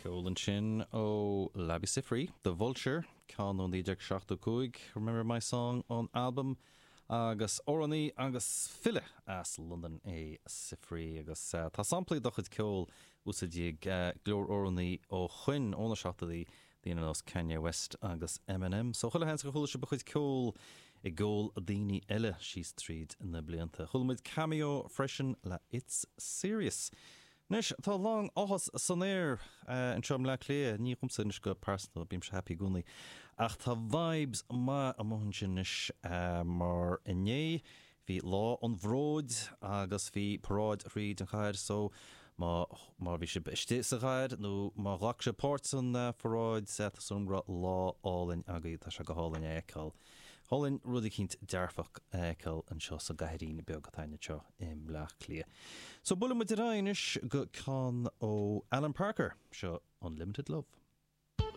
Ceol ansin ó Labi Siffre, The Vulture, ceann ó 1975, Remember My Song ón albam, agus amhránaí agus file as Londain é Siffre agus tá samplaí dá chuid ceoil úsáidte ag go leor amhránaí ó shoin, ó na seachtóidí, daoine ar nós Kanye West agus Eminem. So chuile sheans gur chuala sibh a chuid ceoil i gceol daoine eile síos tríd na blianta. Chuala muid Cameo freisin le It's Serious. Anois, tá a lán áthas san aer anseo i mBleá Cliath, ní dhomsa anois go pearsanta, bímse happy i gcónaí, ach tá vibes maith amuigh ansin anois mar inné bhí Lá an Bhróid agus bhí paráid thríd an chathair so má má bhí sibh istigh sa chathair nó má ghlac sibh páirt san pharáid tá súil agam go raibh lá álainn agaibh, tá sé go hálainn a fheiceáil. Hálainn rud eicínt dearfach a fheiceáil anseo sa gcathairín beag atá againn anseo i mBleá Cliath. So buailfidh muid ar aghaidh anois go ceann ó Alan Parker, seo Unlimited Love.